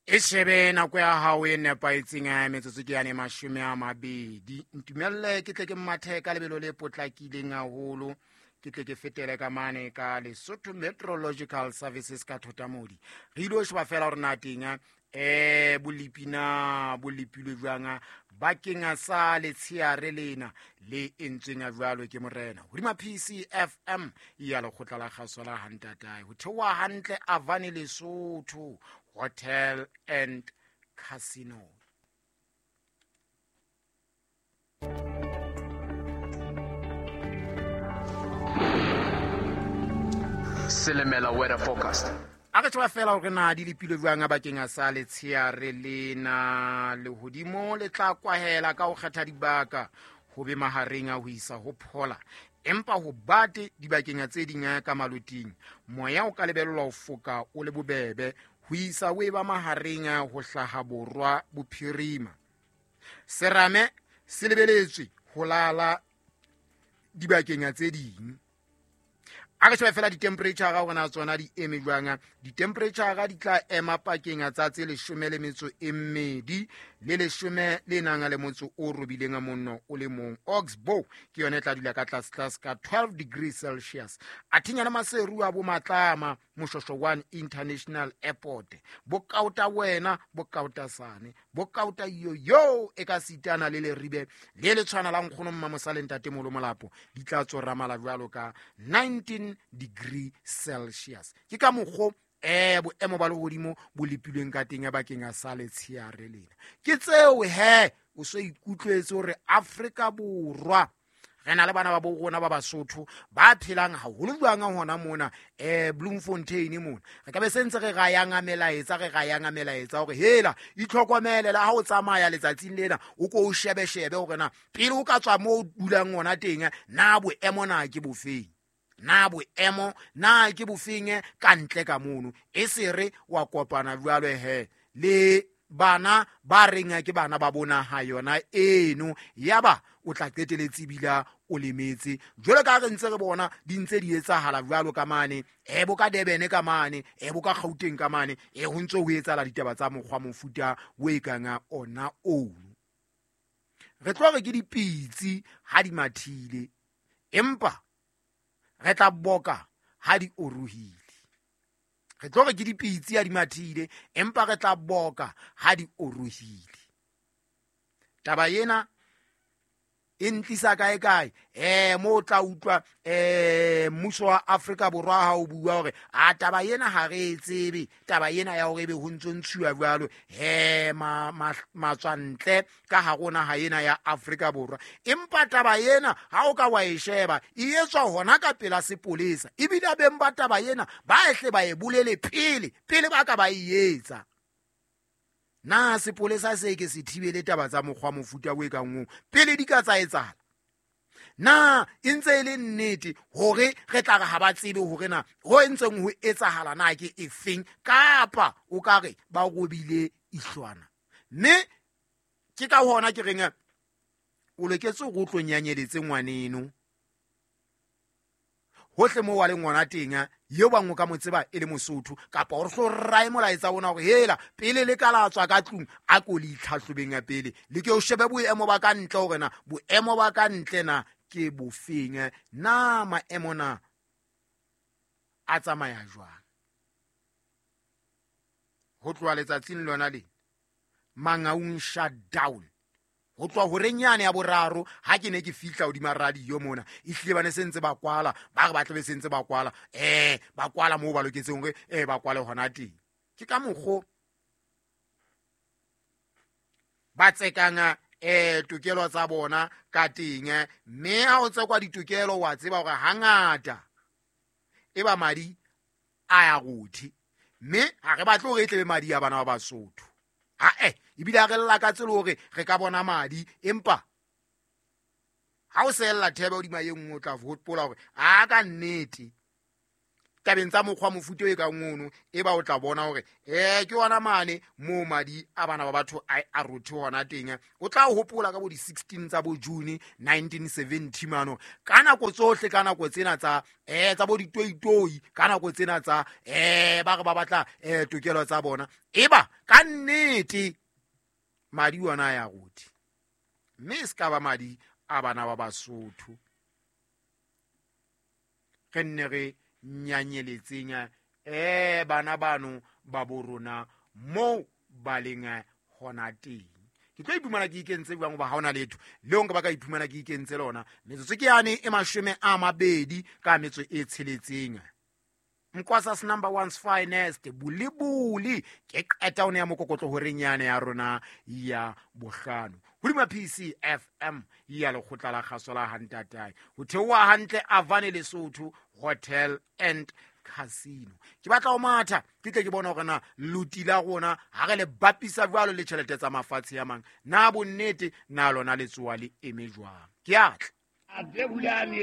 E shebe nako ya hao e nepahetseng ya metsotso ke yane 20. Ntumelle ke tle ke mathe ka lebelo le potlakileng haholo, ke tle ke fetele ka mane ka Lesotho Meteorological Services ka Thotamodi. Re ile ho sheba fela hore na teng bolepi na bo lepilwe jwang bakeng sa letsheare lena le entsweng jwalo ke morena hodima PCFM ya lekgotla la kgaso la Hantatae ho theoha hantle Avani Lesotho Hotel and Casino. Silimela weather forecast. A re tseba fela hore na di lepilwe jwang bakeng a sa letsheare lena. Lehodimo le tla kwahela ka ho kgetha dibaka ho be mahareng a ho isa ho phola, empa ho bate dibakeng tse ding ka maloting. Moya o ka lebellwa ho foka o le bobebe ho isa o eba mahareng a ho hlaha borwa bophirima. Serame se lebeletswe ho lala dibakeng tse ding. A re shebe fela ditemperature hore na tsona di eme jwang. Ditemperature di tla ema pakeng tsa tse 12 le 18 monno o le mong. Oxbow ke yona e tla dula ka tlase tlase ka 12 degrees Celsius. Athinya le Maseru a bo Matlama, Moshosho 1 International Airport, bo Kauta wena, bo Kauta sane, bo Kauta yo e ka sitana le Leribe le le tshwana la nkgono Mmamosale ntate Molo Molapo, di tla tsoramala jwalo ka 19 degree Celsius. Ke ka mokgo boemo ba lehodimo bo lepilweng ka teng bakeng a sa letsheare lena. Ke tseo he o so ikutlwetse hore Afrika Borwa re na le bana ba bo rona ba Basotho ba phelang haholo jwang hona mona Bloemfontein mona. Re ka be se ntse re rayang a melaetsa, re rayang a melaetsa hore hela itlhokomele le ha o tsamaya letsatsing lena, o ko o shebe-shebe hore na pele o ka tswa moo o dulang hona teng na boemo na ke bofeng, na boemo na ke bofeng ka ntle ka mono. E se re wa kopana jwalo he le bana ba reng ke bana ba bona ha yona eno, yaba o tla qeteletse ebile o lemetse. Jwalo ka ha re ntse re bona di ntse di etsahala jwalo ka mane, bo ka Durban ka mane, bo ka Gauteng ka mane, ho ntse ho etsahala ditaba tsa mokgwa mofuta o e kang ona ono. Re tlo re ke dipitsi ha di mathile, empa re tla boka ha di orohile. Re tlo re ke dipitsi ha di mathile, empa re tla boka ha di orohile. Taba ena e ntlisa kae kae? Mo o tla utlwa mmuso wa Afrika Borwa ha o bua hore a taba ena ha re e tsebe, taba ena ya hore ebe ho ntso ntshuwa jwalo, matswantle ka hare ho naha ena ya Afrika Borwa. Empa taba ena ha o ka wa e sheba e etswa hona ka pela sepolesa, ebile beng ba taba ena ba ehle ba e bolele pele, pele ba ka ba e etsa. Na sepolesa se ke se thibele taba tsa mokgwa mofuta o e kang oo pele di ka tsa etsahala? Na e ntse e le nnete hore re tla re ha ba tsebe hore na ho entseng ho etsahala na ke efeng, kapa o ka re ba robile ihlwana? Mme ke ka hona ke reng o loketse hore o tlo nyanyeletse ngwaneno hohle moo wa leng hona teng, eo bang o ka mo tseba e le Mosotho, kapa o re hlo rae molaetsa ona hore hela pele le ka la tswa ka tlung a ko le itlhahlobeng ya pele, le ke o shebe boemo ba ka ntle hore na boemo ba ka ntle na ke bofeng, na maemo na a tsamaya jwang. Ho tloha letsatsing lona le Mangaung shutdown, ho tloha horeng yane ya boraro ha ke ne ke fihla hodima radio mona, ehlile ba ne se ntse ba kwala, ba re ba tlabe se ntse ba kwala, ba kwala moo ba loketseng hore, ba kwale hona teng. Ke ka mokgo ba tsekang, tokelo tsa bona ka teng, mme ha o tsekwa ditokelo wa tseba hore hangata e ba madi a ya rothe, mme ha re batle hore e tlebe madi a bana ba Basotho. Ha-eh, ebile ha re lakatse le hore re ka bona madi, empa ha o sehella thebe hodima e nngwe o tla hopola hore a ka nnete Tabeng tsa mokgwa mofuta e kang ono, e ba o tla bona hore ke yona mane moo madi a bana ba batho a rothe hona teng. O tla hopola ka bo di-16 tsa bo June 1970 mano, ka nako tsohle, ka nako tsena tsa tsa bo ditoitoi, ka nako tsena tsa ba re ba batla tokelo tsa bona, e ba ka nnete madi ona a ya rothe, mme e se ka ba madi a bana ba Basotho. Re nne re nyanyeletseng bana bano ba bo rona moo ba leng hona teng. Ke tlo iphumana ke ikentse jwang, hoba ha hona letho leo nka ba ka iphumana ke ikentse lona. Metsotso ke yane e 26 ka metso e 6. Mkwasas number one's finest bulibuli ke qeta one ya mokokotlo horeng yane ya rona ya bohlano hodima PCFM ya lekgotla la kgaso la Hantatae, ho theoha hantle Avane Lesotho Hotel and Casino. Ke batla ho matha ke tle ke bona hore na loti la rona ha re le bapisa jwalo le tjhelete tsa mafatshe a mang, na bonnete na lona letsoa le eme jwang. Ke atla.